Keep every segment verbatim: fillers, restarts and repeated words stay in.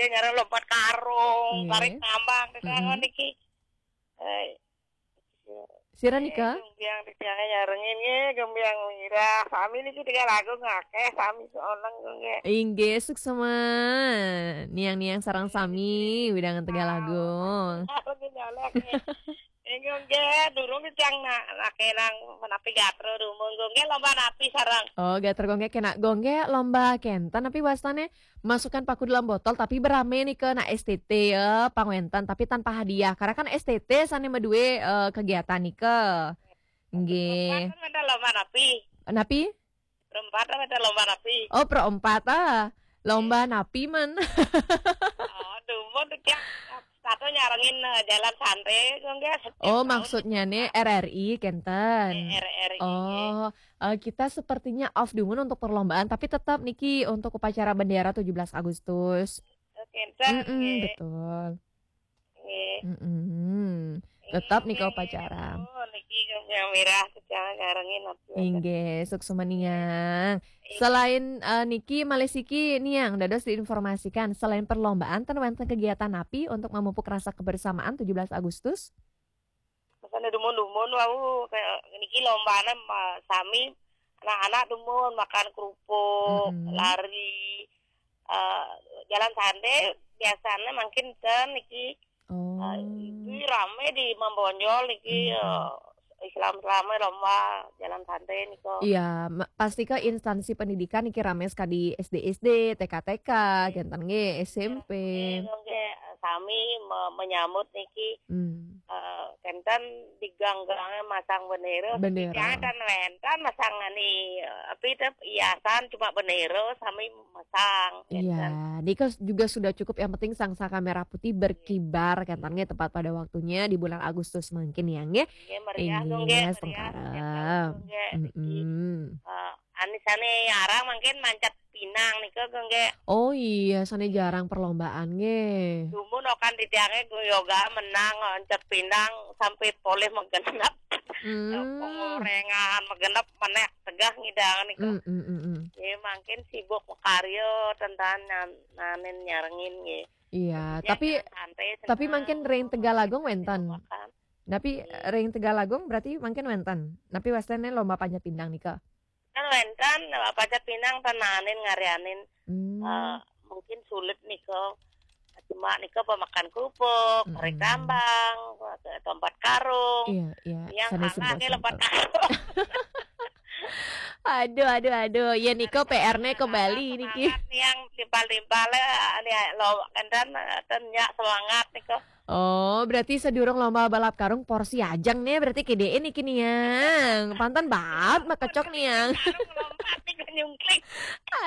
Nyareng lompat karung, Nggih. Tarik Tambang, di sana Mm-mm. niki. Eh, Sira nika? Gembyang di tiangnya nyarengin, nggih, Gembyang Mirah. Sami niki Tegal Agung akeh, sami seoneng, nggih. Inggih, suksema. Niang-niang sareng sami, wewidangan Tegal Agung. Aku nyolek, nggih. Nggih, nggih, durung di tiang nak, nak kenang menapi gatra dumun, nggih, lomba napi sareng. Oh, gatra gonggé kena gonggé lomba kenten, tapi wastane masukkan paku dalam botol, tapi berame nika nak S T T ya, pangwenten, tapi tanpa hadiah. Karena kan S T T sane medue eh, kegiatan nika. Nggih. Kan ada lomba napi. Napi? Perempat ada lomba napi. Oh, perempat ah. Lomba napi man. Oh, dumun tuh, Cak. Satu nyarengin eh, jalan santai, nggih. Setiap Oh, tahun maksudnya nih R R I kenten. R R I. Oh, eh, kita sepertinya off dumun untuk perlombaan, tapi tetap niki untuk upacara bendera tujuh belas Agustus. Kenten, Mm-mm, nggih. Betul. Nggih. Mm-mm. Tetap nika Nggih, upacara. Oh, niki Gembyang Mirah, Cak, nyarengin napi. Inggih, suksema niang. Selain eh, niki malih siki niang dados diinformasikan, selain perlombaan ten wenten kegiatan napi untuk memupuk rasa kebersamaan tujuh belas Agustus? Makanya dumun-dumun wau kayak niki lombane ma- sami anak-anak dumun makan kerupuk, Mm-mm. lari, eh, jalan santai biasanya makin ten niki Oh. eh, itu rame di Mambonjol niki Mm-mm. eh, Islam selama lomba jalan santai niko. Iya, ma- pasti ke instansi pendidikan niki rame sekali S D S D, T K T K, kenten nggih, S M P. Nggih, sami me- menyambut niki Hmm. eh, kenten di gang-gangnya masang bendera. Bendera. Jangan kan wenten masang ni eh, apa itu hiasan cuma bendera sami masang. Iya, ini kan juga sudah cukup. Yang penting sang saka merah putih berkibar, kenten nggih, tepat pada waktunya di bulan Agustus mangkin ya nggih. Nggih, meriah Inggih, dong, nggih, setengah meriah. arep. Nggih, niki. Mm-mm. Eh, anisane arang mungkin mancet pinang nika, nggih. Oh iya, sane jarang perlombaan nggih. Dumun okan di tiangnya gue yoga menang, mancet pinang sampai polih menggenep. Hmm. Pengorengan menggenep menek tegah ngidang nika. Mm, mm, mm, mm. Ya, mungkin sibuk karya tentang nan- nanin nyarengin nggih. Iya, Ya, tapi jangan santai, tapi senang. mangkin ring Tegal Agung wenten. Makan. Tapi ring Tegal Agung berarti mangkin wenten. Tapi wastane lomba panjat pinang nika. Kan wenten apa aja pinang tenanin ngarianin Hmm. eh, mungkin sulit nika. Cuma nika pemakan kerupuk, Mm-mm. tarik tambang, tempat karung. Iya, iya. Yang Sane kalah sebelah ke lompat sana. karung. Aduh, aduh, aduh. Ya nika P R-ne kembali niki. Semangat yang timpal-timpal ya, lo kenten ten ya semangat nika. Oh, berarti sedurung lomba balap karung porsi ajeng nih, berarti kedee niki niang. Panten banget makecok niang. Karung lompat nika nyungkling.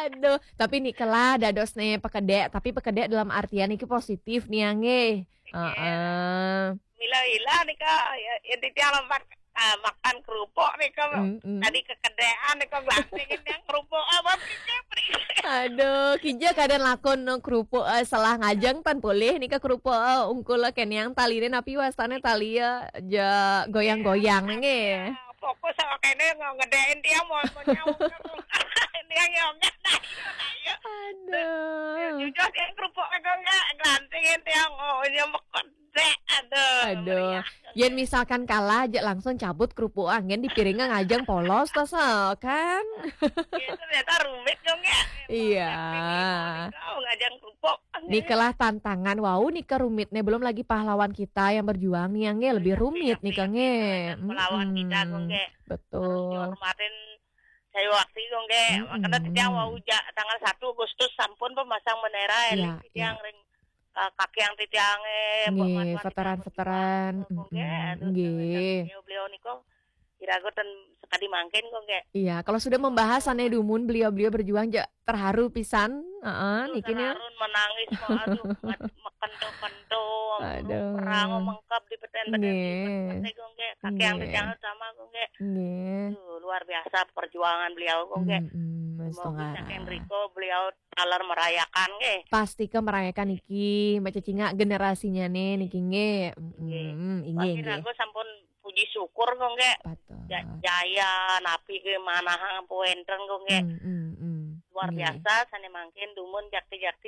Aduh, tapi niki lah dados nih pekede, tapi pekede dalam artian niki positif niang nggih. Heeh. Mila-ila nika ya, ya di tiang lompat ah, makan kerupuk nika. Mm-mm. Tadi kekedean nika glantingin yang kerupuk apa beriknya beriknya. Aduh, kinja kadang lakon no kerupuk eh, salah ngajeng tan boleh nika kerupuk eh, ungkul eh, keniang taline napi wastane tali eh, ja goyang-goyang nggih. Fokus sama kene ngedein tiang mau mau nyawuk tiang nyongnya. Aduh. Jujur tiang kerupuk nika nggak glantingin tiang oh ini mekede. Aduh. Aduh. Meriah. Yen misalkan kalah aja langsung cabut kerupuk angin di piringnya ngajeng polos tas eh, kan. Ya, ternyata rumit dong ya. Iya. Kau ngajeng kerupuk. Nikalah tantangan wau nika rumitnya belum lagi pahlawan kita yang berjuang nih yang lebih rumit nika nge. Melawan kita Mm-mm. kok nge. Betul. Dihormatin saya waktu kok nge. Mm-mm. Karena sejak wau ja, tanggal satu Agustus sampun pemasang bendera Iya, eling titiang ring eh, kaki yang titiang eh, buat Nggih, matuan veteran-veteran. Kok nge, Mm-mm. aduh, Nggih. beliau-beliau niku kira-kira ten sekali mangkin kok nge. Iya, kalau sudah membahas aneh dumun beliau-beliau berjuang ja, terharu pisan. Heeh, Aduh, niki nih. terharu menangis mau aduh mat- mekento-kento Aduh. perang mengkap di peten-peten Nggih. pete kok nge. Kaki yang Nggih. titiang sama kok nge. Nggih. Aduh, luar biasa perjuangan beliau kok nge. Mm-mm, Mas Semoga Tongara. saking riko beliau taler merayakan nggih. Pasti ke merayakan niki, Mbak Cecingak generasinya nih niki nggih. Mm-mm, inggih Pasti nggih. aku sampun puji syukur kok nggih. Betul. Ja- Jaya napi ke manahang ampun wenten kok nggih. Mm, mm, mm. Luar Nggih. Biasa sane mangkin dumun jakti-jakti